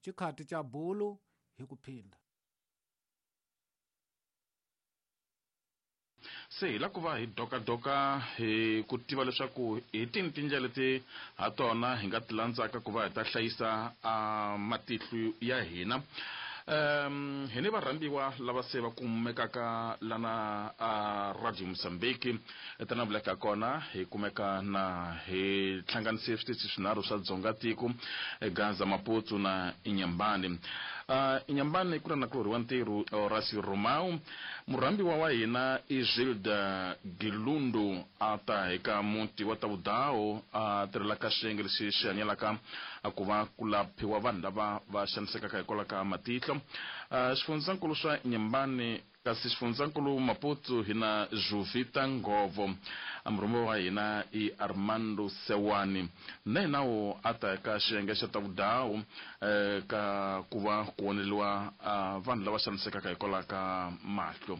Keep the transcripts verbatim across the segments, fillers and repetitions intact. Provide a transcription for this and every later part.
Xikhati xa bulu hi ku phinda. Se hi lava ku va hi dokadoka hi ku tiva leswaku hi tini tindlela leti ha tona hi nga ti landzaka ku va hi ta hlayisa a matihlo ya hina. Um hi ni varhambiwa lava se va kumekaka lana a Radio Mozambique etana vuleka kona hi kumeka na hi hlanganise switichi swinharhu swa Dzonga tiko Gaza, Maputo na Inhambane. Uh, Inhambane ku na nakulorhi wa ntirho Horacio Romao. Murhambiwa wa hina i Gilda Gilundu a ta eka muti wa Tavudao a tirhelaka xiyenge lexi xi hanyelaka ku va ku laphiwa vanhu lava va xanisekaka hikwalaho ka matihlo. Uh, xifundzankulu swa Inhambane kasi xifundzankulu Maputo hi na Juvita Ngovo. Murhumiwa wa hina i Armando Sewani na hina wo a ta eka xiyenge xa Tavudao eh, ka ku va ku voneliwa uh, vanhu lava xanisekaka hikwalaho ka mahlo.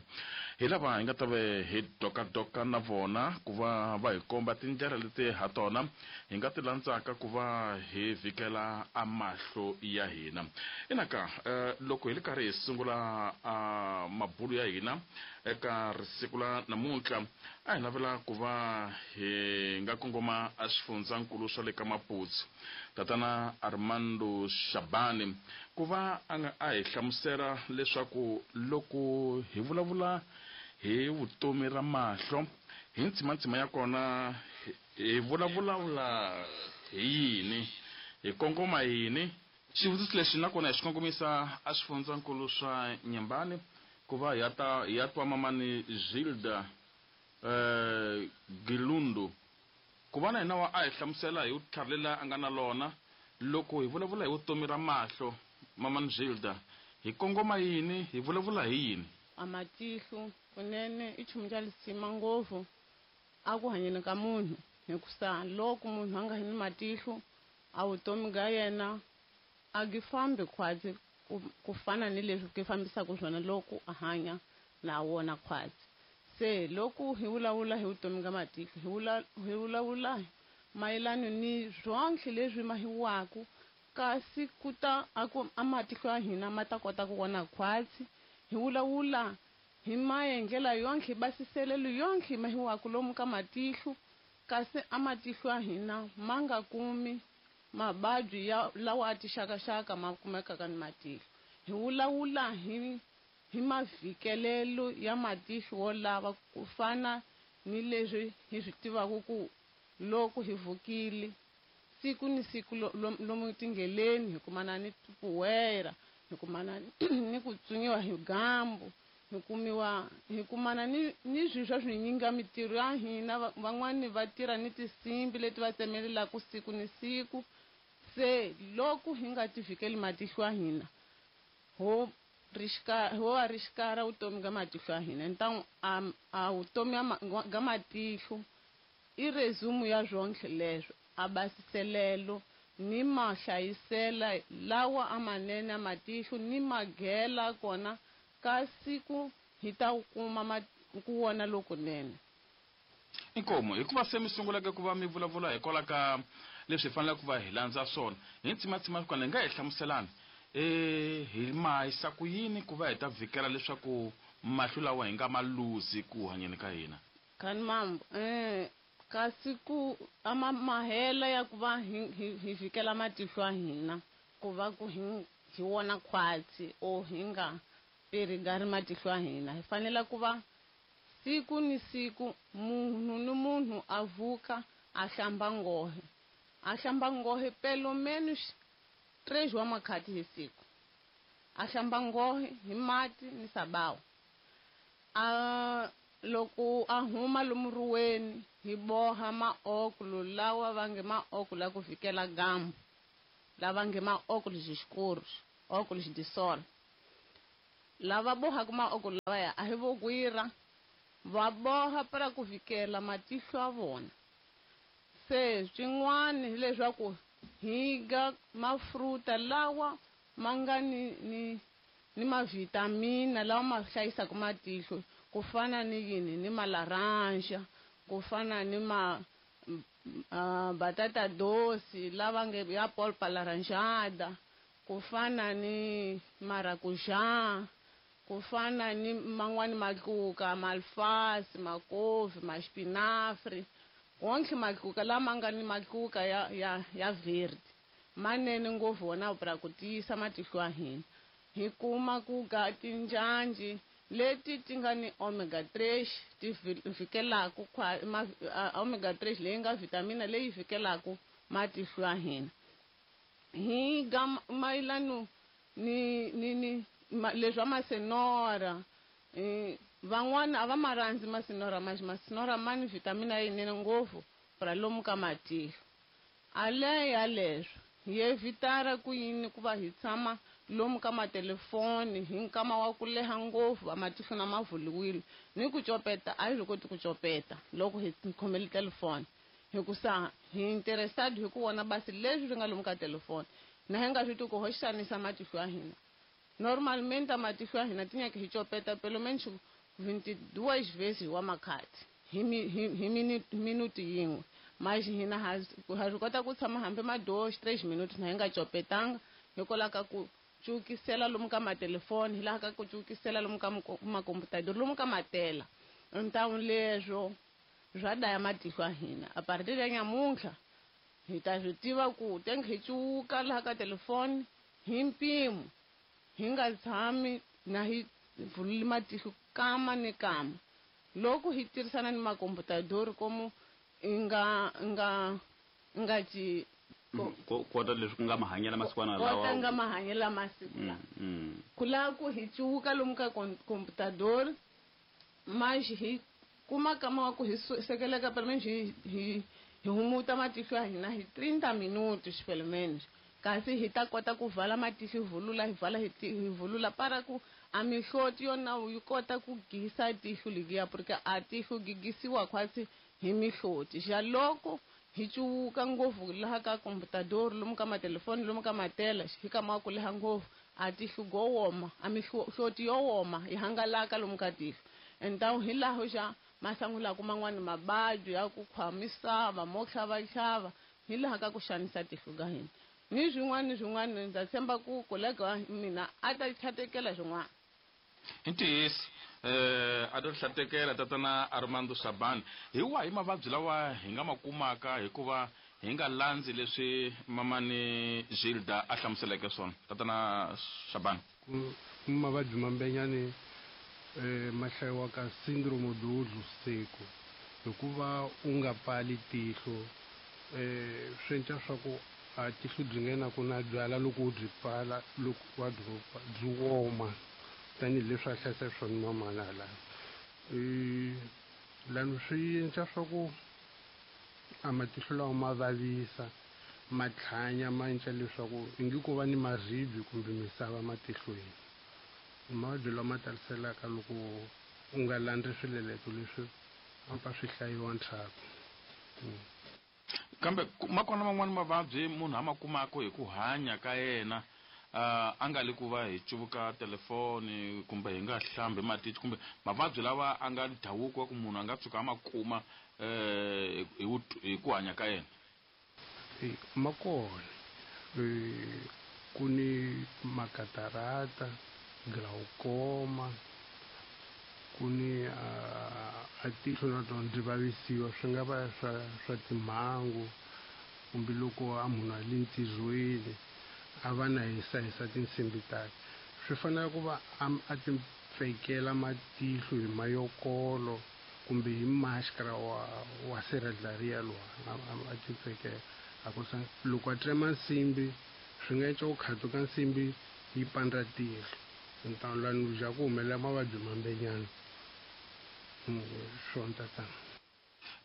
Hi lava hi nga ta ve hi dokadoka na vona ku va va hi komba tindlela leti ha tona hi nga ti landzaka ku va hi vhikela a mahlo ya hina. Inaka uh, loko hi ri karhi hi sungula uh, mabulo ya hina eka risiku la namuntlha a hi navela ku va hi nga kongoma a xifundzankulu swa le ka Maputo tatana Armando Shabani ku va a nga a hi hlamusela leswaku loko hi vulavula hi vutomi ra mahlo hi ntsimantsima ya kona hi vulavula hi yini hi kongoma yini. Xivutiso lexi nakona hi xi kongomisa a xifundzankulu swa Inhambane ku va hi ta hi ya twa mamani Gilda eh Gilundu ku va na hina wa a hi hlamusela hi vutlhari lela a nga na lona loko hi vulavula hi vutomi ra mahlo. Mamani Gilda, hi kongoma yini, hi vulavula hi yini? A matihlo kunene i nchumu xa lisima ngopfu a ku hanyeni ka munhu, hikusa loko munhu a nga ni matihlo a vutomi ga yena a gi fambi khwatsi ku fana ni leswi ku fambisaka swona loko a hanya na wona khwatsi. Se loko hi vulavula hi vutomi ga matihlo hi vula hi vulavula mayelana ni swonke leswi mahiwaku kasi ku ta a ku a matihlo ya hina ma ta kota ku vona khwatsi. Hi vulavula hi maendlela yonke basiselelo yonke mahiwaku lomu ka matihlo kasi a matihlo ya hina ma nga kumi mabadyi ya lawa a tixakaxaka ma kumekaka ni matihlo. Hi vulavula hi hi mavhikelelo ya matihlo wo lava ku fana ni leswi hi swi tivaka ku loko hi vukile siku ni siku lomu tindleleni hi kumana ni tipuwera, hi kumana ni ku tswinyiwa hi gambu, hi kumiwa hi kumana ni ni swilo swa swinyingi mitirho ya hina. Van'wani va tirha ni tinsimbi leti va tsemelelaka siku ni siku. Se loko hi nga ti vhikeli matihlo ya hina ho rixika ho va rixikara vutomi ga matihlo ya hina. Ntangu a a vutomi ga matihlo i resume ya swonke leswo a basiselelo ni mahlayisela lawa a manene a matihlo ni magela kona ka siku hi ta kuma ku vona lokunene. Inkomo hikuva se mi sungulaka ku va mi vulavula hikwalaho ka leswi hi faneleke ku va hi landza swona hi ntsimatsima kona hi nga hi hlamuselani eh hi mahisa ku yini ku va hi ta vhikela leswaku mahlo lawa hi nga ma luzi ku hanyeni ka hina. Kani mambo eh kasi ku ama mahela ya ku va hi hi vhikela matihlo ya hina ku va ku hi hi wona khwatsi o hi nga perigari matihlo ya hina hi fanele ku va siku ni siku munhu ni munhu a vuka a hlamba ngohe a hlamba ngohe pelo menos três wa makhati hi siku a hlamba ngohe hi mati ni sabawu a loko a huma lomuruweni hi boha maokulu lawa va nge maokulu ya ku vhikela gambu lava nge maokulu xixikuru okulu xidisol lava bohaka maokulu lavaya a hi vo gwira va boha para ku vhikela matihlo ya vona. Se swin'wana hileswaku hi ga mafruta lawa ma nga ni ni ni mavitamina lawa ma hlayisaka matihlo ku fana ni yini ni malaranja ku fana ni ma uh, batata doce lava nge ya polpa laranjada ku fana ni marakuja, ku fana ni man'wani matluka, malfasi, makovi, maxpinafri, wonke matluka lama nga ni matluka ya ya ya verde manene ngopfu wona pra ku tiyisa matihlo ya hina. Hi kuma ku ga tinjanji leti ti nga ni omega three ti vhikelaku omega three leyi nga vitamina leyi vhikelaku matihlo ya hina. Hi ga mayelano ni ni ni leswa masenora, van'wana a va ma rhandzi masenora, mas masenora ma ni vitamina yinene ngopfu pra lomu ka matihlo. Ale ya leswo hi evitara ku yini ku va hi tshama lomu ka matelefoni hi nkama wa ku leha ngopfu va matihlo na ma vuliwile ni ku copeta a hi swi koti ku copeta loko hi khomele telefoni, hikusa hi interested hi ku vona basi leswi swi nga lomu ka telefoni na hi nga swi tivi ku ho xanisa matihlo ya hina. Normalmente matihlo ya hina ti nyaka hi copeta pelo menos vinte e duas vezes wa makhati hi hi minuti yin'we, mas hina ha swi kota ku tshama hambi ma dois três minutos na hi nga copetanga hikwalaho ka ku cukisela lomu ka matelefoni, hi laha ka ku cukisela lomu ka makomputador, lomu ka matela. Então leswo swa daya matihlo ya hina. A partir ya nyamuntlha hi ta swi tiva ku tenge hi cuka laha ka telefoni hi mpimo, hi nga tshami na hi vululi matihlo kama ni kama. Loko hi tirhisana ni makomputador komu nga nga nga ci kota leswi ku nga mahanyelo masikwana lawa, kota nga mahanyelo masiku lawa ku lava ku hi cuka lomu ka computador, mas hi kuma kama wa ku hi sekeleka pelo menos hi hi hi humuta matihlo ya hina hi trinta minutos pelo menos, kasi hi ta kota ku vala matihlo hi vulula hi vala hi vulula para ku a mihloti yona yi kota ku gisa tihlo liya, porque a tihlo gigisiwa khwatsi hi mihloti. Xa loko hi cuka ngopfu laha ka computador, lomu ka matelefoni, lomu ka matela, hi kama ku leha ngopfu a tihlo go woma, a mihloti yo woma yi hangalaka lomu ka tihlo. Então hi laho xa masangulaka man'wani mabadi ya ku khwamisava mo tlhavatlhava hi laha ka ku xanisa tihlo ka hina. Ni swin'wana ni swin'wana ndza tshemba ku kolega wa mina a ta tlhatekela swin'wana. Hi ntiyiso eh a to hlatekela tatana Armando Shabani, hi wahi mavabyi lawa hi nga ma kumaka hikuva hi nga landzi leswi mamani Gilda a hlamuseleke swona tatana Shabani? Ku mavabyi mambenyani eh ma hlayiwaka syndrome do olho seco, hikuva u nga pfali tihlo eh swi endla swa ku a tihlo byi nghena ku na byala loko u byi pfala loko wa byi byi woma tanihileswi a hlayisa swona mamana hala lani swi endla swa ku a matihlo lawa ma vavisa ma tlhanya ma endla leswaku ingi ku va ni maribye kumbe misava matihlweni. Mavabyi lama taliselaka loko u nga landzi swileleto leswi a pfa swi hlayiwa ndzhaku. Kambe ma kona man'wani mavabyi munhu a ma kumaka hi ku hanya ka yena uh, a nga le ku va hi cuvuka telefoni kumbe hi nga hlambi matihlo, kumbe mavabyi lawa a nga ndhavuko wa ku munhu a nga tshuka a ma kuma eh hi ku hanya ka yena? Ma kona ku ni makatarata, glaucoma, ku ni a tihlo na tona byi vavisiwa, swi nga va swa swa timhangu kumbe loko a munhu a le ntirhweni a va na hisahisa tinsimbi takhe, swi fanele ku va a ti pfekela matihlo hi mayokolo kumbe hi maskara wa wa sirheleriya lowa a ti pfekela. A ku loko a tsema nsimbi swi nga endla ku khatuka nsimbi yi pandza tihlo, então lani ja ku humelela mavabyi mambenyana swona tatana.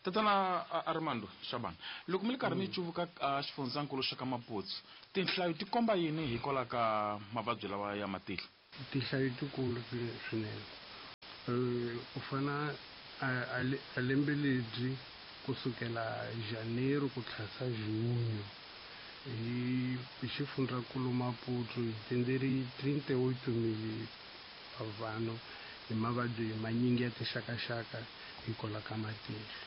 Tatana Armando Shabani, loko mi ri karhi mi cuvuka xifundzankulu xa ka Maputo, tinhlayo ti komba yini hikwalaho ka mavabyi lawa ya matihlo? Tinhlayo tikulu swinene. Ku fana a lembe lebyi kusukela Janeiro ku tlhasa Junho hi xifundzankulu Maputo hi tenderi trinta e oito mil vanhu hi mavabyi manyingi ya tinxakaxaka hikwalaho ka matihlo.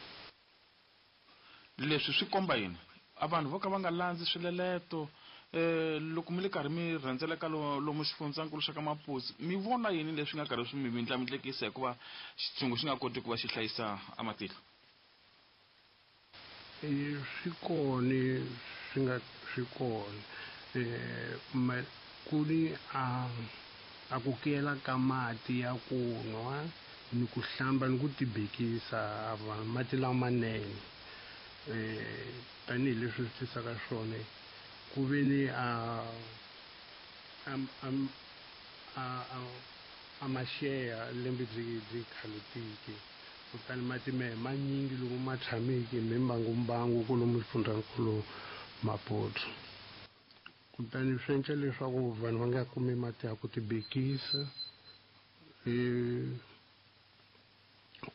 Leswi swi komba yini? A vanhu vo ka va nga landzi swileleto Eh loko mi le karhi mi rhendzeleka lomu xifundzankulu xa ka Maputi mi vona yini leswi nga karhi swi mi mindlamindlekisa hikuva xitshungu xi nga koti ku va xi hlayisa amatihlo? Swi kona swi nga swi kona eh ku ni a a ku kela ka mati ya ku nwa ni ku hlamba ni ku tibekisa vanhu mati lamanene eh tanihileswi swi tisaka swona ku ve ni a a a a maxeya lembe byi byi khalutiki kutani mati mehe manyingi loko ma tshameki mimbangu kolomu xifundzankulu Maputo kutani swi endla leswaku vanhu va nga kumi mati ya ku tibekisa eh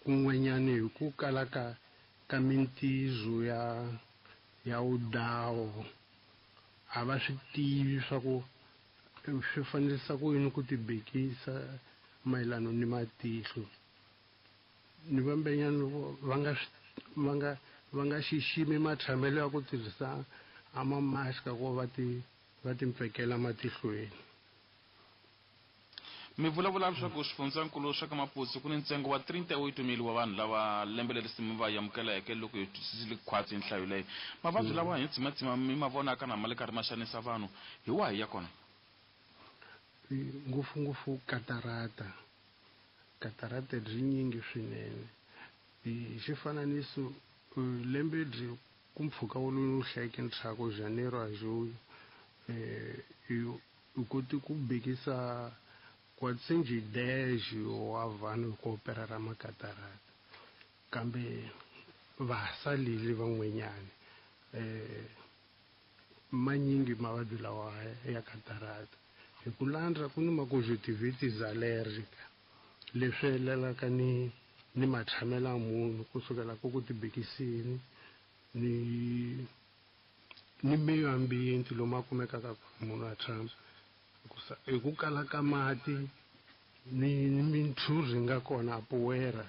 kun'wanyani hi ku kala ka ka mintizo ya ya udawo a va swi tivi swa ku swi fanelisa ku yini ku tibekisa mayelana ni matihlo ni vambenyana loko va nga va nga va nga xiximi matshamelo ya ku tirhisa a mamaska ku va ti va timpfekela matihlweni. Mi vulavula leswaku xifundzankulu xa ka Maputi ku ni ntsengo wa thirty-eight mil wa vanhu lava lembe leri mi va amukeleke loko hi twisisile khwatsi nhlayo leyi mavabyi lawa hi tsimatsima mi ma vonaka na ma le karhi ma xanisa vanhu hi wahi ya kona? Ngopfungopfu katarata katarata byi nyingi swinene hi xifananiso lembe byi ku mpfhuka wolowo wu hlayeke ntshaku Janeiro a Julho eh u koti ku bekisa quatrocentos e dez wa vanhu ku operara makatarata kambe va salile van'wanyana eh manyingi mavabyi lawa ya katarata hi ku landza ku ni maconjunctivitis allergica leswi helelaka ni ni matshamelo ya munhu kusukela ku ku tibekisini ni ni meyo ambiente lomu a kumekaka munhu a tshama hi ku kala ka mati ni minthuri nga kona a poera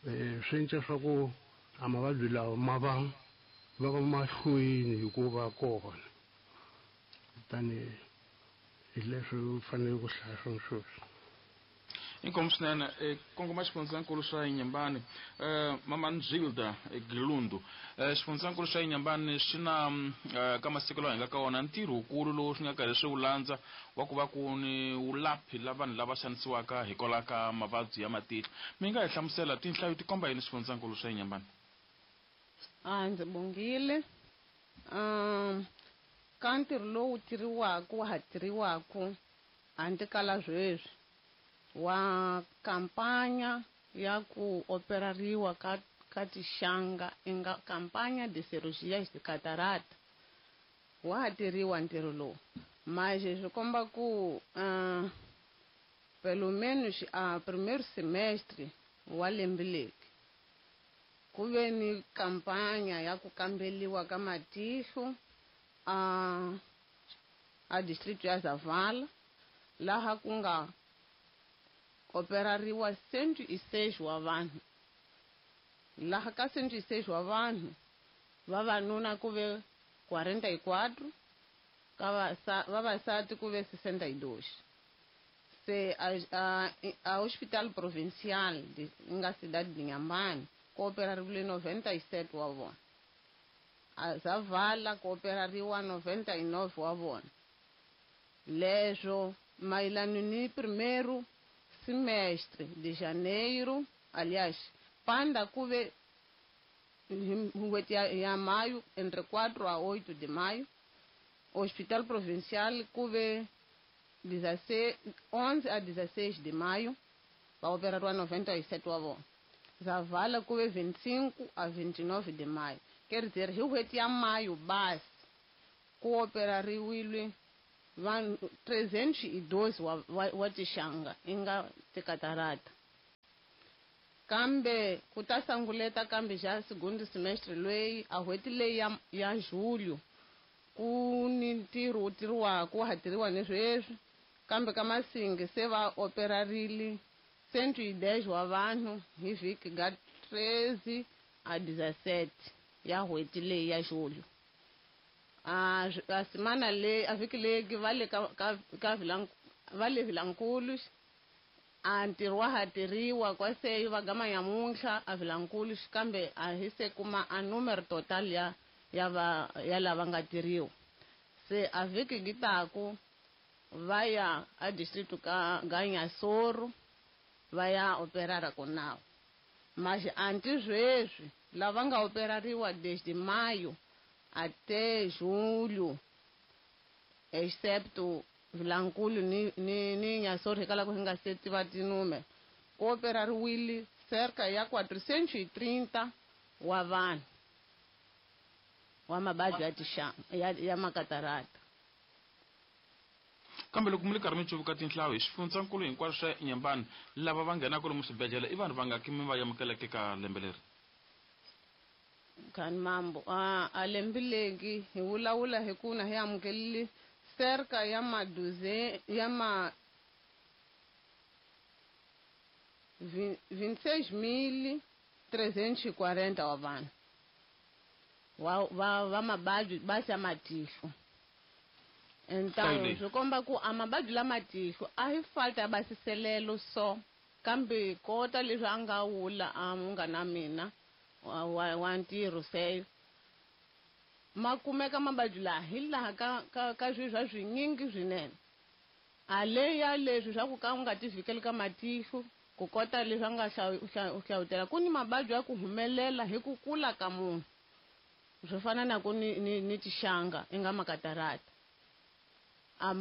eh swi endla swa ku a mavabyi lawa ma va va va mahlweni hikuva kona kutani hi leswi u fanele ku hlaya swona sweswi. Inkomu swinene kongoma xifundzankulu xa Inhambane eh mama Nzilda Gilundu xifundzankulu xa Inhambane xi na ka masiku lawa hi nga ka wona ntirho wukulu lowu swi nga karhi swi wu landza wa ku va ku ni wulaphi la vanhu lava xanisiwaka hikwalaho ka mavabyi ya matihlo. Mi nga hi hlamusela tinhlayo ti komba yini xifundzankulu xa Inhambane? A ndzi bongile um ka ntirho lowu tirhiwaka wa ha tirhiwaka handle ka la sweswi wa kampanya ya ku operariwa ka ka tixanga inga kampanya de cirurgias de catarata wa ha tirhiwa ntirho lowu mas swi komba ku uh, pelo menos a primeiro semestre wa lembe leri ku ve ni kampanya ya ku kambeliwa ka matihlo a a distrito ya Zavala laha ku nga operariwa cento e seis wa vanhu laha ka cento e seis wa vanhu vavanuna ku ve quarenta e quatro ka vavasati ku ve sessenta e dois se a, a, a hospital provincial de nga cidade de Inhambane ku operariwile noventa e sete wa vona a Zavala ku operariwa noventa e nove wa vona leswo mayelana ni primeiro semestre de janeiro, aliás, panda kuve n'hweti ya, ya maio, entre quatro a oito de maio, Hospital Provincial kuve onze a dezesseis de maio, va operariwa noventa e sete wa vona. Zavala kuve vinte e cinco a vinte e nove de maio. Quer dizer, hi n'hweti ya maio basi ku operariwile vanhu trezentos e doze wa, wa, wa tixanga inga tikatarata kambe ku ta sanguleta kambe xa segundo semestre leyi a n'hweti leyi ya, ya julho ku ni ntirho wu tirhiwaka wa ha tirhiwa ni sweswi kambe ka Masingi se va operarile cento e dez wa vanhu hi vhiki ga treze a dezessete ya n'hweti leyi ya julho. A a semana le a vhiki leyi va le ka ka ka va le Vilankulu a ntirho wa ha tirhiwa kwaseyo va gama nyamuntlha a Vilankulu kambe a hi se kuma a numero total ya ya va ya lava nga tirhiwa. Se a vhiki gi taku va ya a district ka ga Nyasoro va ya operara konawo. Mas antes sweswi lava nga operariwa desde maio até julho, excepto Vilankulu ni ni ni Nyasoro hikwalaho hi nga se tiva tinúmero, ku operariwile cerca ya quatrocentos e trinta wa vanhu wa mavabyi ya tixanga ya, ya makatarata. Kambe loko mi le karhi mi cuvuka tinhlayo hi xifundzankulu hinkwaswo swa Inhambane, lava va nghenaka lomu swibedhlele i vanhu vangaki mi va amukeleke ka lembe leri? Khani mambo a a lembe legi hi vulavula hi ku na hi amukelile cerca ya ma duze ya ma vinte e seis mil trezentos e quarenta wa vanhu wa va va mavabyi basi ya matihlo. Então swi komba ku a mavabyi lama tihlo a hi falta ya basiselelo so kambe kota leswi a nga wula a munghana mina wa wa, wa ntirho se ma kumeka mavabyi laha hi laha ka ka ka swilo swa swinyingi swinene. A le ya leswi swa ku ka u nga ti vhikeli ka matihlo ku kota leswi a nga hlawutela ku ni mavabyi ya ku humelela hi ku kula ka munhu swo fana na ku ni ni, ni tixanga i nga makatarata. A,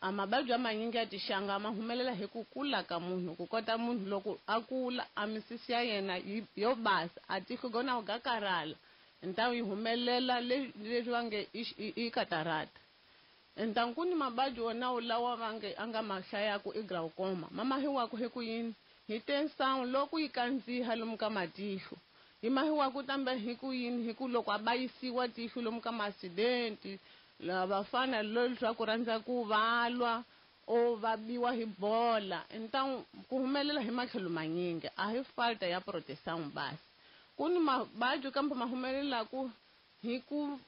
a mavabyi ya manyingi ya tixanga ma humelela hi ku kula ka munhu ku kota munhu loko a kula a misisi ya yena yo basa a tihlo gona ga karhala então yi humelela leswi va nge i katarata. Então ku ni mavabyi wona lawa va nge a nga ma hlayaku i glaucoma ma mahiwaku hi ku yini hi tensão loko yi kandziha lomu ka matihlo yi mahiwaku tambe hi ku yini hi ku loko a bayisiwa tihlo lomu ka ma-accident lava fana leswaku rhandza ku valwa o va biwa hi bola. Então ku humelela hi matlhelo manyingi a hi falta ya proteção basi. Ku ni mavabyi kambe ma humelelaku hi ku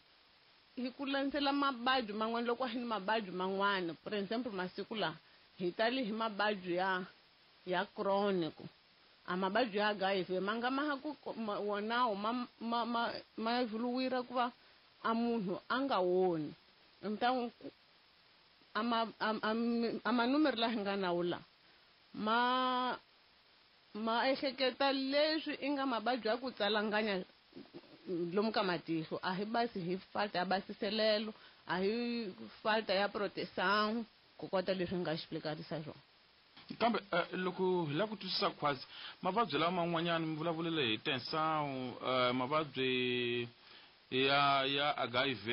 hi ku landzela mavabyi man'wana loko a hi ni mavabyi man'wana. For example masiku lawa hi tali hi mavabyi ya ya chronic a mavabyi ya H I V ma nga ma ku wonawo ma ma ma ma evoluira ku va a munhu a nga woni. Então a ma a manúmero laha hi nga na wula ma ma ehleketa leswi i nga mavabyi ya ku tsalanganya lomu ka matihlo a hi basi hi falta ya basiselelo a hi falta ya proteção ku kota leswi nga explicarisa swona. Kambe loko hi lava ku twisisa khwatsi mavabyi lawa man'wanyana mi vulavulele hi tensão mavabyi ya ya H I V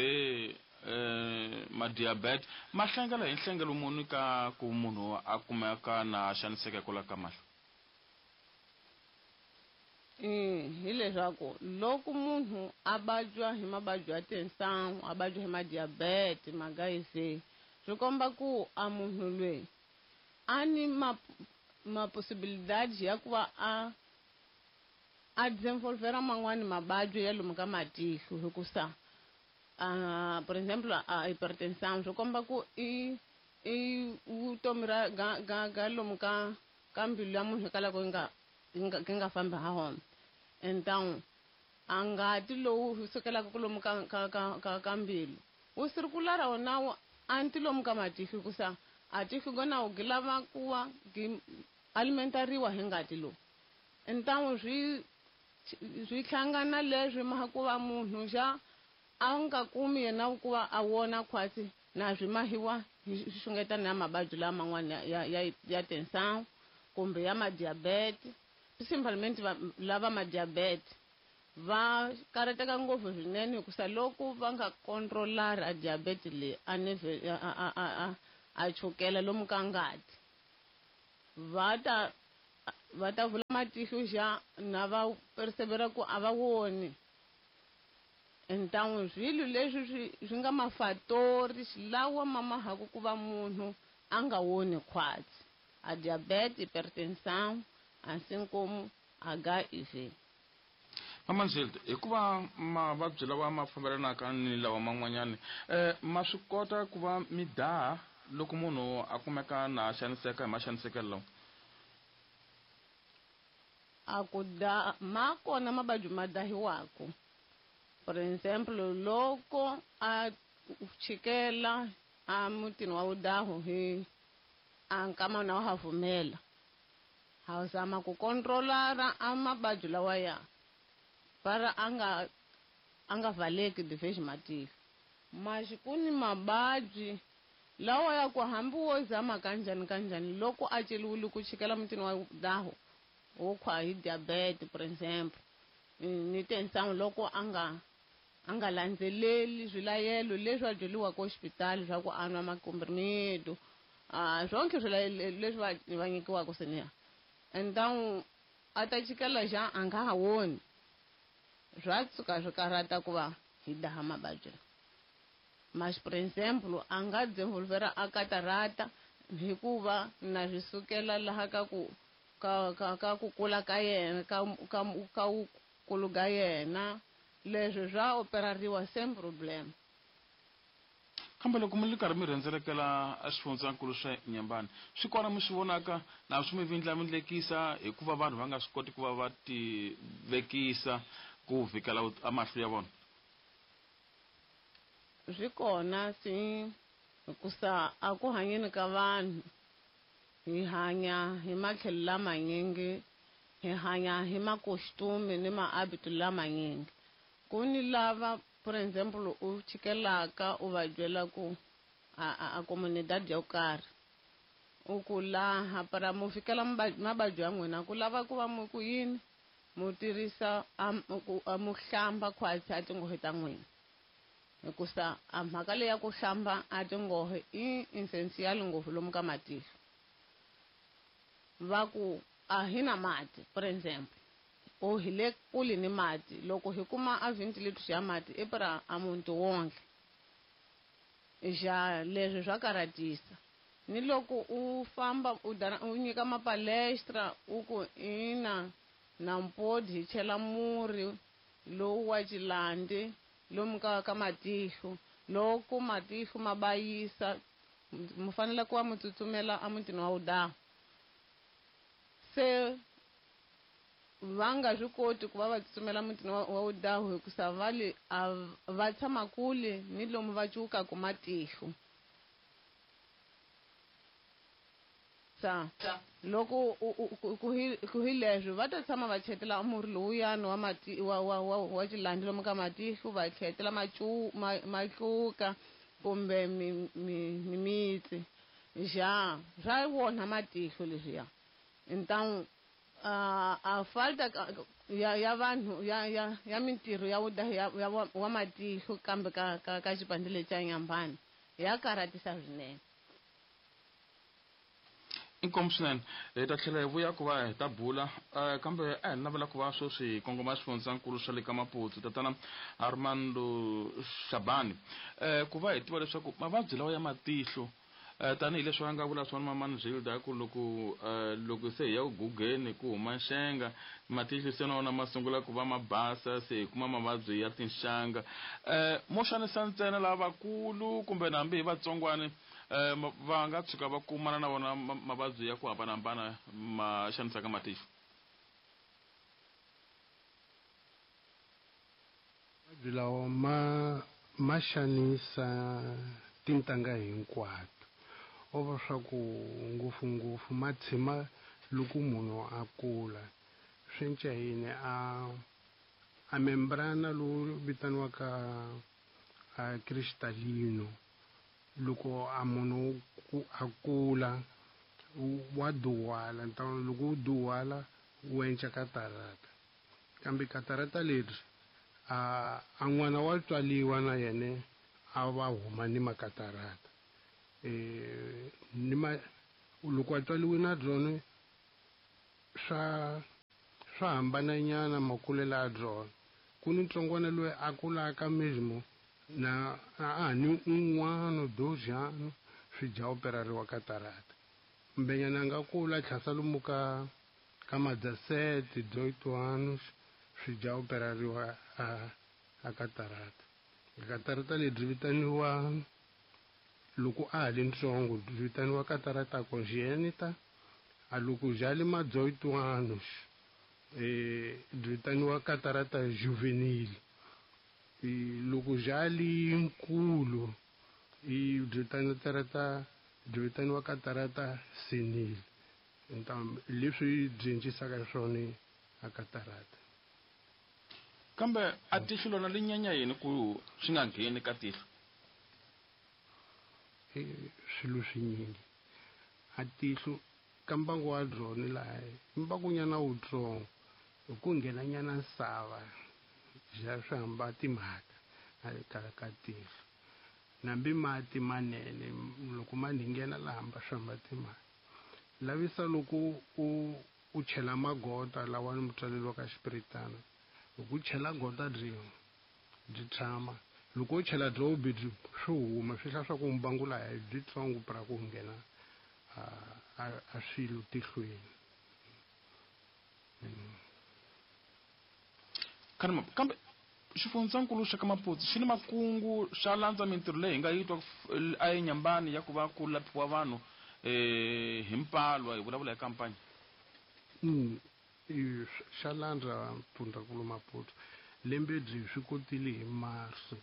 eh ma diabetes ma hlangela hi nhlengelo muni ka ku munhu a kumeka na xaniseka kwala ka mahlo? Hi leswaku loko munhu a vabya hi mavabyi ya tensão a vabya hi ma diabetes ma H I V swi komba ku a munhu loyi a ni ma ma possibilidade ya ku va a a desenvolvera man'wani mavabyi ya lomu ka matihlo hikusa uh, por exemplo a hipertensão swi komba ku i i vutomi ra ga ga ga lomu ka ka mbilu ya munhu hikwalaho yi nga yi nga fambi ha hona. Então a ngati lowu sukelaka lomu ka ka ka ka ka mbilu wu circulara wona anti lomu ka matihlo hikusa a tihlo gona wu gi lava ku va gi alimentariwa hi ngati lowu. Então swi swi hlangana leswi ma ku va munhu xa a nga kumi yena ku va a wona khwatsi na swi mahiwa hi xungetana ya mavabyi laman'wana ya ya ya tensão kumbe ya ma-diabetes principalmente lava ma-diabetes va karhateka ngopfu swinene hikusa loko va nga controlari a diabetes leyi a neve a a a a chukela lomu ka ngati va ta va ta vula matihlo xa na va persevera ku a va woni. Então swilo leswi swi swi nga mafatori lawa ma mahaku ku va munhu a nga woni khwatsi a diabetes, hipertensão, assim como H I V. Mamanzilde, hikuva mavabyi lawa ma fambelanaka ni lawa man'wanyani eh ma swi kota ku va mi daha loko munhu a kumeka na xaniseka hi maxanisekelo lawa? A ku da ma kona mavabyi ma dahiwaka. For example, loko a chikela a mutini wa vudahu hi a nkama na wa ha pfumela, ha zama ku controlara a mavabyi lawa ya para a nga a nga valeki divhexi matihlo. Maxi ku ni mavabyi lawa ya ku hambi wo zama kanjhani kanjhani loko a celiwile ku chikela mutini wa vudahu wo khwa hi diabetes for example, ni tensangu loko a nga a nga landzeleli swilayelo leswi a byeriwaka exipitali swa ku a nwa makomprimido, a swonke swilayelo leswi va va nyikiwaka seniya, and a ta chikela xa a nga ha voni, swa tshuka swi karhata ku va hi daha mavabyi. Mas for example, a nga desenvolvera a katarata hikuva na swi sukela laha ka ku ka ka ka ku kula ka yena ka ka ka kulu ka yena, leswi swa operariwa same problem. Kambe loko mi ri karhi mi rhendzelekela eswifundzankulu swa Inhambane, swi kona mi swi vonaka na swi mi vindlavindlekisa hikuva vanhu va nga swi koti ku va va ti vekisa ku vhikela amahlo ya vona? Swi kona swi hikusa a ku hanyeni ka vanhu hi hanya hi matlhelo lamanyingi, hi hanya hi makostume ni mahabito lamanyingi. Ku ni lava for example u chikelaka u va byela ku a a comunidade yo karhi u ku laha para mu fikela mavabyi ya n'wina ku lava ku va mu ku yini mu tirhisa a mu hlamba khwatsi a tinghohe ta n'wina, hikusa a mhaka leyi ya ku hlamba a tinghohe i essential ngopfu lomu ka matihlo. Va ku a hi na mati for example, o hi le kule ni mati, loko hi kuma a twenty liters ya mati i para a muntu wonke, xa leswi swa karhatisa. Ni loko u famba u dana u nyika mapalestra u ku ina na mpodi hi chela murhi lowu wa xilandi lomu ka ka matihlo, loko matihlo ma bayisa mu fanele ku va mu tsutsumela emutini wa vudahu. Se va nga swi koti ku va va tsutsumela mutini wa vudahu hikusa va le a va tshama kule ni lomu va cukaka matihlo. Sa loko ku hi leswi va ta tshama va chetela murhi lowuyani wa mati wa wa wa wa xilandi lomu ka matihlo, va chetela macu matluka kumbe mimitsi xa swa wona matihlo leswiya. Então a a falta ya ya vanhu ya ya ya mintirho ya vudahi ya wa matihlo kambe ka ka ka xipandlele xa Inhambane ya karhatisa swinene. Inkomu swinene, hi ta tlhela hi vuya ku va hi ta bula kambe a hi navela ku va sweswi hi kongoma swifundzankulu swa le ka Maputo, tatana Armando Shabani, ku va hi tiva leswaku mavabyi lawa ya matihlo tanihileswi a nga vula swona Mamani Zilda ku loko loko se hi ya ku gugeni ku huma nxenga matihlo se na wona ma sungula ku va ma basa, se hi kuma mavabyi ya tinxanga, mo xanisa ntsena lavakulu kumbe na hambi hi vatsongwani va nga tshuka va kumana na vona mavabyi ya ku hambanahambana ma xanisaka matihlo? Mavabyi lawa ma ma xanisa tintangha hinkwato, o va swa ku ngopfungopfu ma tshima loko munhu a kula. Swi cinca yini a a membrana lowu vitaniwaka a cristalino, loko a munhu a kula wa duwala, loko wu duwala wu endla katarata, kambe katarata leri a a n'wana wa tswaliwa na yena a va huma ni makatarata, eh ni ma loko a tswaliwe na byona swa swa hambananyana makulelo ya byona. Ku ni ntsongwana loyi a kulaka mesmo na a ni un'wana dozhano swi dya operariwa katarata, mbenyana a nga kula tlhasa lomu ka ka madzasete doitwanos swi dya operariwa a a katarata. Katarata lebyi vitaniwa loko a ha li ntsongo byi vitaniwa katarata congenita, a loko bya le ma dezoito anos eh byi vitaniwa katarata juvenil, loko bya li nkulu i byi vitaniwa katarata byi vitaniwa katarata senile. Então leswi byi cincisaka swona a katarata. Kambe a tihlo lona li nyanya yini ku swi nga ngheni ka tihlo? Swilo swinyingi a tihlo ka mbangu wa byona laha mbangunyana wutsongo hi ku nghenanyana nsava bya swi hamba timhaka ka ka tihlo, nambi mati manene loko ma nghena laha hamba swi hamba timhaka. Lavisa loko u u chela magota lawa ni mutswalelo ka xipiritana, loko u chela gota byin'we byi tshama, loko u chela byo byi swi huma swi hla swa ku mbangu laha byi tsongo pra ku nghena a a swilo tihlweni. Kambe kambe xifundzankulu xa ka Maputo xi ni makungu xa landza mintirho leyi hi nga yi twa a eNyambani ya ku va ku laphiwa vanhu eh hi mpalwa hi vulavula hi kampani. Mm xa landza Mpfundzankulu Maputo lembe byi swi kotile hi Marso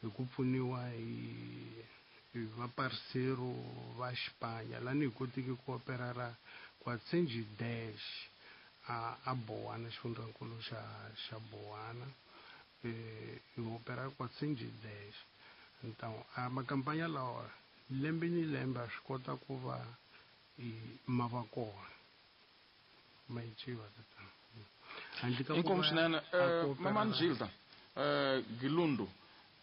hi ku pfuniwa hi hi vaparsero va Xipanya lani hi kotiki ku operara quatrocentos dez a a Bowana, xifundzankulu xa xa Bowana eh hi opera quatrocentos dez. Então a makampanya lawa lembe ni lembe a swi kota ku va ma va kona ma yi tatana. Handle ka ku Inkomu va swinene a ku mama operara Gilda eh Gilundu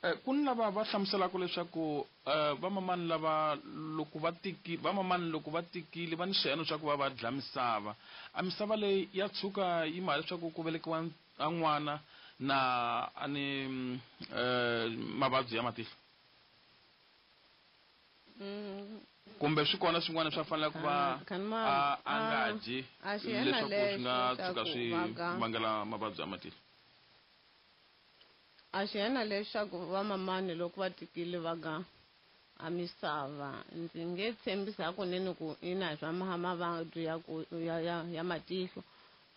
eh ku ni lava va hlamuselaka leswaku vamamani lava loko va tiki vamamani loko va tikile va ni xiyeno xa ku va va dla misava, a misava leyi ya tshuka yi ma leswaku ku velekiwa a n'wana na a ni eh mavabyi ya matihlo kumbe swi kona swin'wana swa fanele ku va a a nga dyi leswaku swi nga tshuka swi vangela mavabyi ya matihlo? A xi yena leswaku vamamani loko va tikile va ga a misava ndzi nge tshembisi hakunene ku ina swa mavabyi ya ku ya ya ya matihlo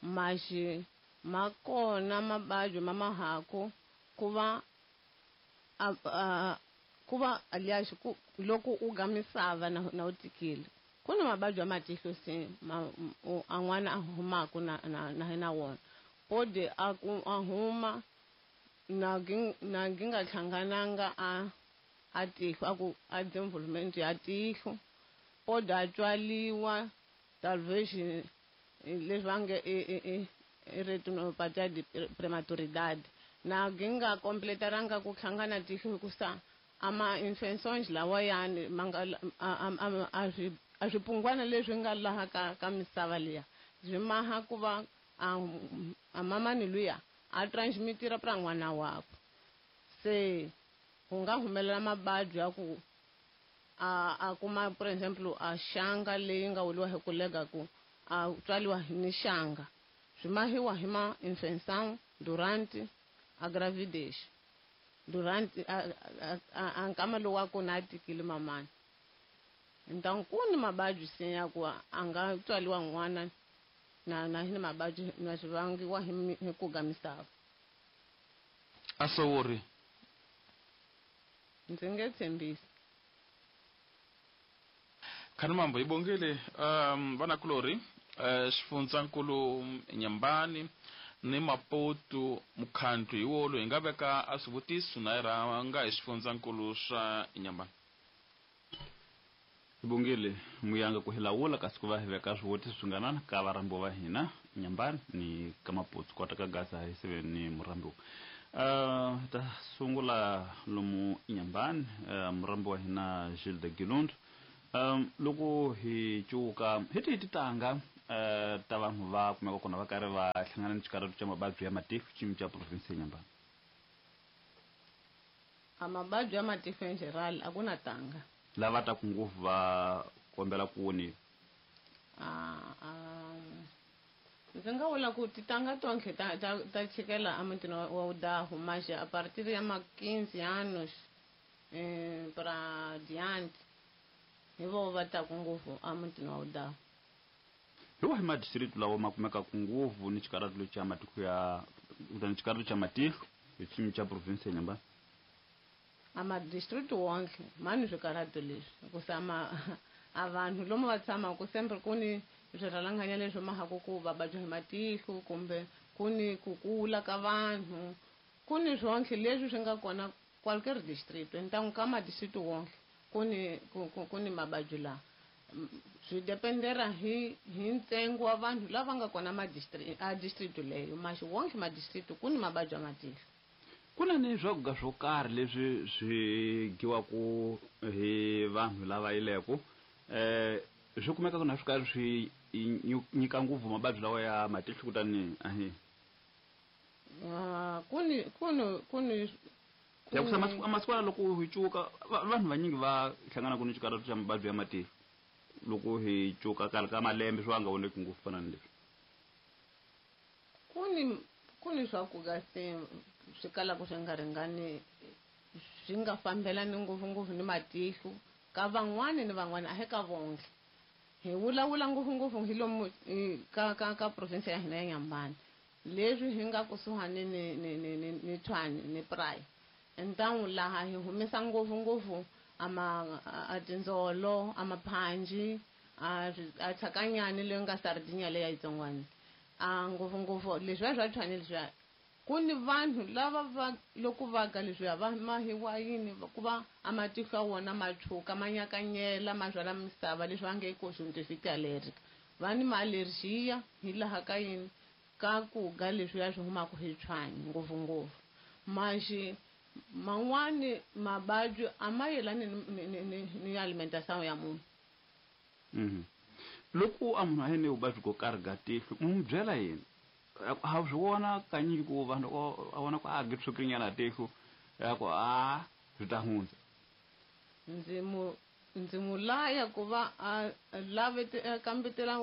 maxi ma kona mavabyi ma mahaku ku va a ku va aliás ku loko u ga misava na na u tikile ku na mavabyi ya matihlo se ma a n'wana a humaku na na na na wona pode a ku a huma na na nginga hlangananga a a tihlo a ku a development ya tihlo pode a tswaliwa talvez leswi va nge i i retinopatia de prematuridade na nginga completaranga ku hlangana tihlo hikusa ama infections lawa yani manga a swi a swipungwana leswi nga laha ka ka misava liya swi maha ku va a mamani luya a transmitira pra n'wana wakwe se ku nga humelela mavabyi ya ku a a kuma por exemplo a xanga leyi nga woliwa hi ku lega ku a tswaliwa ni xanga swi mahiwa hi ma infecção durante a gravidez durante a a a nkama lowu wa kona a tikile mamani. Então ku ni mavabyi se ya ku a nga tswaliwa n'wana na na hi mavabyi na swi vangiwa hi ku ga misava. A sowori ndzi nge tshembisi. Khanimambo hi bongile um vanakulorhi eh xifundzankulu Nyambani ni Maputo mukhandlu hi wolo hi nga veka a swivutiso na hi rhanga hi xifundzankulu swa Nyambani. Hi bongile muyanga ku hi lawula kasi ku va hi veka swivutiso swinganana ka varhambiwa va hina Nyambani ni ka Maputo kota ka Gaza hi sive ni murhambiwa. Uh, ta sungula lomu Nyambani uh, murhambi wa hina Gilda Gilundu. Um, loko hi cuka hi tihi titanga uh, ta vanhu va kumeka kona va karhi va hlangana ni xikarhatu xa mavabyi ya matihlo xiyimo xa province ya Nyambani? A mavabyi ya matihlo in general a ku na tanga. Lava taku ngopfu va kombela ku woniwa? A, a, Ndzi nga vula ku titanga tonke ta ta ta chikela emutini wa Udahu mas a partir ya ma quinze anos eh para diante hi vo va ta ku ngopfu emutini wa Udahu. Hi wahi madistrito lawa ma kumekaka ngopfu ni xikaratu xa matiko ya kutani xikaratu xa matihlo hi xiyimo xa province ya Inhambane? A madistrito wonke mani swikaratu leswi hikusa ma a vanhu lomu va tshamaka sempre ku ni swirhalanganya leswi mahaku ku va vabya hi matihlo kumbe ku ni ku kula ka vanhu ku ni swonke leswi swi nga kona qualquer distrito ntangu ka madistrito wonke ku ni ku, ku, ku ni mavabyi lawa swi dependera hi hi ntsengo wa vanhu lava nga kona madistrito a distrito leyo maxi wonke madistrito ku ni mavabyi ya matihlo. Ku na ni swakudya swo karhi leswi swi dyiwaka hi vanhu lava yileko eh swi kumeka ku na swi karhi swi nyika ngopfu mavabyi lawa ya matihlo kutani ahi ah ku ni ku ni ku ni ya ku masiku masiku loko hi cuka vanhu vanyingi va hlangana ku ni xikaratu xa mavabyi ya matihlo loko hi cuka kala ka malembe swi nga voneki ngopfu fana ni leswi. Ku ni ku ni swakudya se swi kalaka swi nga ringani swi nga fambelani ngopfungopfu ni matihlo ka van'wani ni van'wani a hi ka vonke. Hi vulavula ngopfungopfu hi lomu ka ka ka province ya hina ya Inhambane leswi hi nga kusuhani ni ni ni ni ni Tshwane ni Praia ntangu laha hi humesa ngopfungopfu ama a tindzolo a maphanji a a tshakanyani leyi nga sardinia leyi yitsongwana a ngopfungopfu leswiya swa Tshwane leswiya ku ni vanhu lava va loko va ga leswiya va mahiwa yini ku va a matihlo ya wona ma tshuka ma nyakanyela ma byala misava leswi va nge conjunctivite allergic va ni ma-allergia hi laha ka yini ka ku ga leswiya swi humaka hi Tshwane ngopfungopfu maxi man'wani mavabyi a ma yelani ni ni ni ni alimentação ya munhu. Mhm. Loko a munhu a yini vuvabyi byo karhi ga tihlo mu n'wi byela yini? Ha swi vona kanyingi ku vanhu a vona ku a tshwukile tihlo ya ku a swi ta hundza. Ndzi mu ndzi mu laya ku va a lave kambetela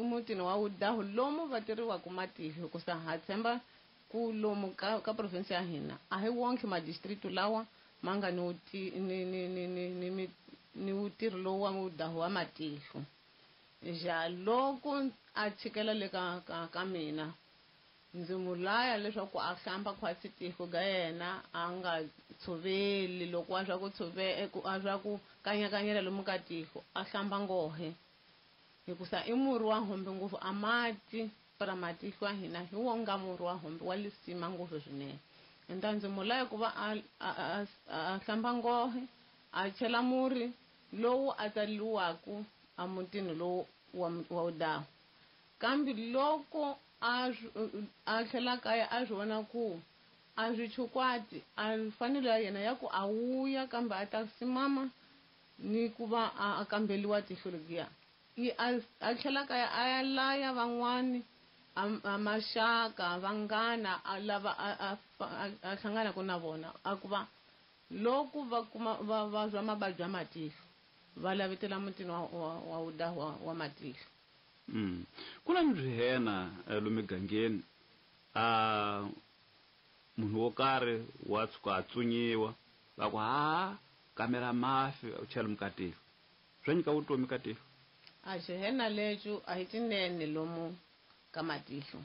mutini wa Udahu lomu va tirhiwaka matihlo hikusa ha tshemba ku lomu ka ka province ya hina a hi wonke madistrito lawa ma nga ni ni ni ni ni ni ni ntirho lowu wa Udahu wa matihlo. Ja loko a chikela le ka ka ka mina ndzi mu laya leswaku a hlamba khwatsi tihlo ga yena a nga tshoveli loko a swa ku tshove a swa ku kanyakanyela lomu ka tihlo a hlamba ngohe hikusa i murhi wa hombe ngopfu a mati para matihlo ya hina hi wo nga murhi wa hombe wa lisima ngopfu swinene. Nta ndzi mu laya ku va a a a hlamba ngohe a chela murhi lowu a tsaliwaku emutini lowu wa wa Udahu kambe loko a a tlhela kaya a swi vona ku a swi chukwati a fanele ya yena ya ku a wuya kambe a ta simama ni ku va a kambeliwa tihlo leriya i a tlhela kaya a ya laya van'wani a maxaka vanghana a lava a a hlanganaka na vona a ku va loko va kuma va vabya mavabyi ya matihlo va lavetela mutini wa wa wa Udahu wa, wa matihlo. Mm. Ku na swihena lomu migangeni a munhu wo karhi wa tshuka a tsunyiwa va ku ha kamera mafi u chela mukatihlo swa nyika vutomi ka tihlo. A xihena lexo a hi tinene lomu ka matihlo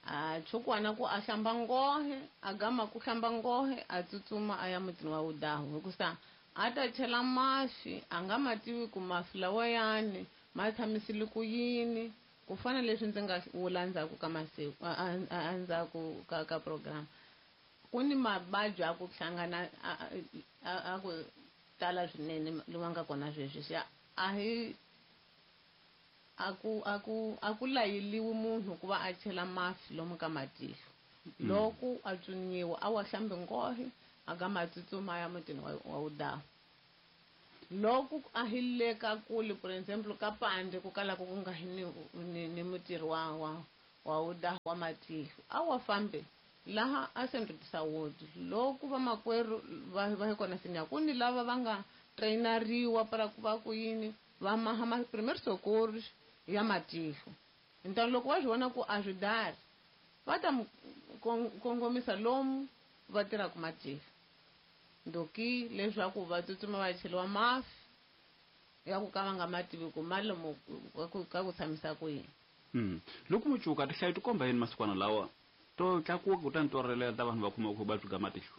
a chukwana ku a hlamba ngohe a gama ku hlamba ngohe a tsutsuma a ya mutini wa Udahu hikusa a ta chela mafi a nga ma tivi ku mafi lawayani ma tshamisile ku yini ku fana leswi ndzi nga vula ndzhaku ka masiku a ndzhaku ka ka program ku ni mavabyi a ku hlangana a ku tala swinene lowa nga kona sweswi xa a hi a ku a ku a ku layeliwi munhu ku va a chela mafi lomu ka matihlo loko a tswinyiwa a wa hlambi nghohe a ga ma tsutsuma ya mutini wa, wa Udahu. Loko a hi le ka kule for example ka pande ku kalaka ku nga hi ni ni, ni mutirhi wa wa wa Udahu wa matihlo a wa fambe laha a Centro de Saúde loko vamakwerhu va va hi kona sinya ku ni lava va nga trainariwa para ku va ku yini va maha ma primeiro socorros ya matihlo. Então loko va swi vona ku a swi dari va ta mu kongomisa lomu va tirhaka matihlo ndoki leswaku va tsutsuma va cheliwa mafi ya ku ka va nga ma tivi ku ma lomu ka ku tshamisa ku yini. Mm. Loko mucuka tihlayo ti komba yini masikwana lawa to tlakuka kutani to relela ta vanhu va kuma ku vuvabyi bya matihlo?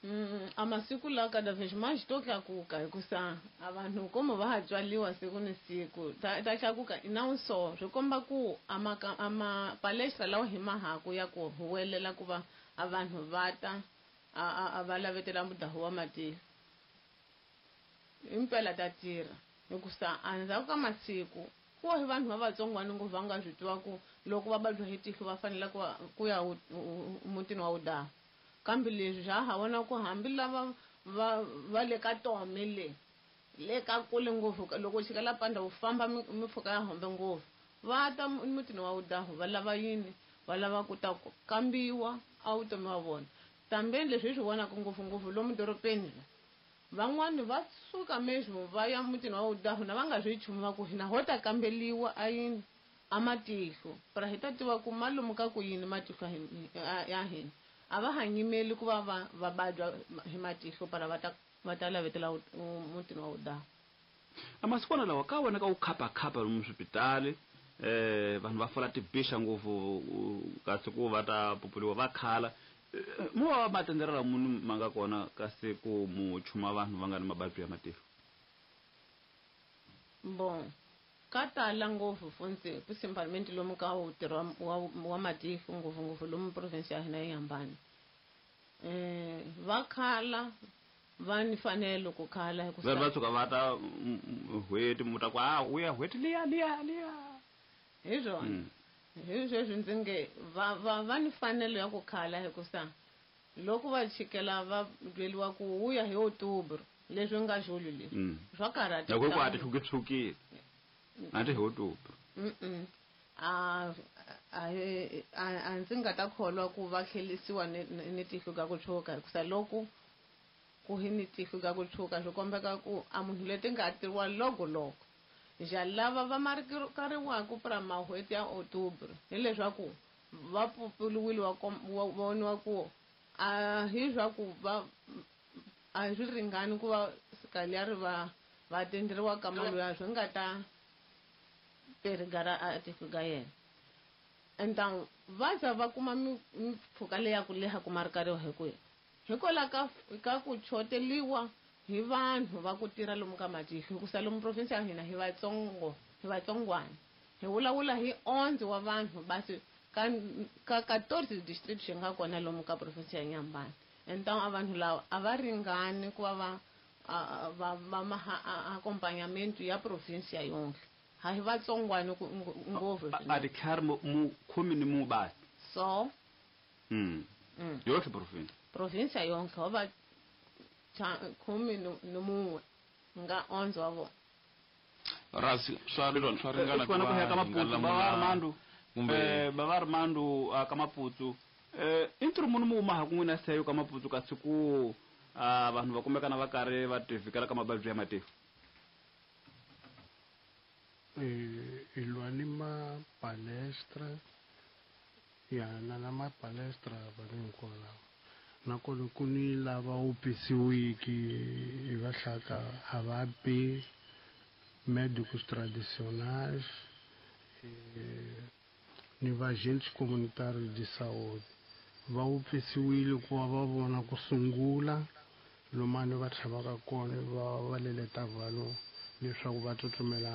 Mm, a masiku lawa cada vez mais to tlakuka hikusa a vanhu como va ha tswaliwa siku ni siku ta ta tlakuka não só swi komba ku a ma a ma palestra lawa hi mahaku ya ku huwelela ku va a vanhu va ta a a va lavetela mudahu wa matihlo impela ta tirha hikusa endzhaku ka masiku ku hi vanhu va vatsongwana ngopfu va nga swi tiva ku loko va vabya hi tihlo va fanele ku ku ya mutini wa wudahu kambe leswi swa ha vona ku hambi lava va va le ka tome le le ka kule ngopfu loko xika la panda u famba mimpfhuka ya hombe ngopfu va ta mutini wa wudahu va lava yini va lava ku ta kambiwa a vutomi wa vona tambeni leswi hi swi vonaka ngopfungopfu lomu dorobeni van'wani va suka mesmo va ya mutini wa wudahu na va nga swi nchumu va ku hina ho ta kambeliwa a yini a matihlo para hi ta tiva ku malumu ka ku yini matihlo ya hina a va ha nyimeli ku va va va vabya hi matihlo para va ta va ta lavetela mutini wa wudahu. A masikwana lawa ka vonaka wu khapakhapa lomu swipitali eh vanhu va fola tibixa ngopfu kasi ku va ta pupuliwa va khala mu wa matendera munhu ma nga kona kasi ku mu chuma vanhu va nga ni mavabyi ya matihlo? Bon ka tala ngopfu funtsi principalmente lomu ka ntirho wa wa matihlo ngopfungopfu lomu province ya hina yi hambana eh va khala va ni fanelo ku khala hikuva va tshuka va ta n'hweti mu ta ku a u ya n'hweti liya liya liya hi swona hi sweswi ndzi nge va va va ni fanelo ya ku khala hikusa loko va chikela va byeriwa ku wu ya hi October leswi nga julho leswi swa karhata loko ku a ti tshukitshukile a ti hi October. Mm a a a ndzi nga ta kholwa ku va tlhelisiwa ni ni tihlo ka ku tshuka hikusa loko ku hi ni tihlo ka ku tshuka swi kombeka ku a munhu leti nga tiriwa loko loko ja lava va marikariwaka pra mahweti ya October hileswaku va pfuliwile wa voniwa ku a hi swa ku va a swi ringani ku va sikaliari va va tenderiwa ka mali ya swi nga ta perigara a tihlo ka yena. Então va za va kuma mimpfhuka leya ku leha ku marikariwa hi ku hikwalaho ka ka ku choteliwa hi vanhu va ku tirha lomu ka matihlo hikusa lomu province ya hina hi vatsongo hi vatsongwana hi vulavula hi onze wa vanhu basi ka ka quatorze district xi nga kona lomu ka province ya Nyambani. Então a vanhu lava a va ringani ku va va va va maha acompanhamento ya province ya yonke ha hi vatsongwana ngopfu a titlhari mu khumi ni mu basi so mm yohle province province ya yonke ho va khumi ni mun'we nga onze wa vona rasi swa swa ringana ku va ka Maputo ba Armando kumbe ba Armando ka Maputo eh i ntirho munhu mu huma ha ku n'wina seyo ka Maputo kasi ku vanhu va kumekana va karhi va tivikela ka mavabyi ya matihlo? Eh hi lwa ni mapalestra ya na na mapalestra va hinkwavo nakona ku ni lava wu pisiwiki hi va hlaka a va bi médicos tradicionais ni va agentes comunitários de saúde va wu pisiwile ku va va vona ku sungula lomani va tlhavaka kona va va leleta vanhu leswaku va tsutsumela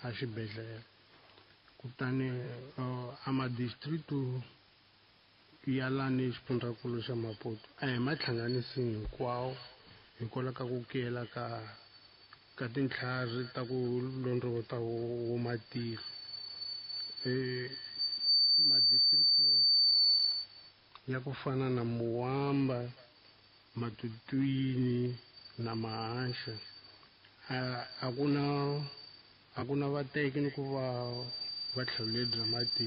a xibedhlele kutani a madistrito ya lani xifundzankulu xa Maputo a hi ma hlanganisi hinkwawo hikwalaho ka ku kuyela ka ka tintlhari ta ku londrovota wo matihlo eh madistrito ya ku fana na Muwamba Matutuini na Mahaxa a a ku na a ku na vateki ni ku va va tlhelo lebyi matihlo.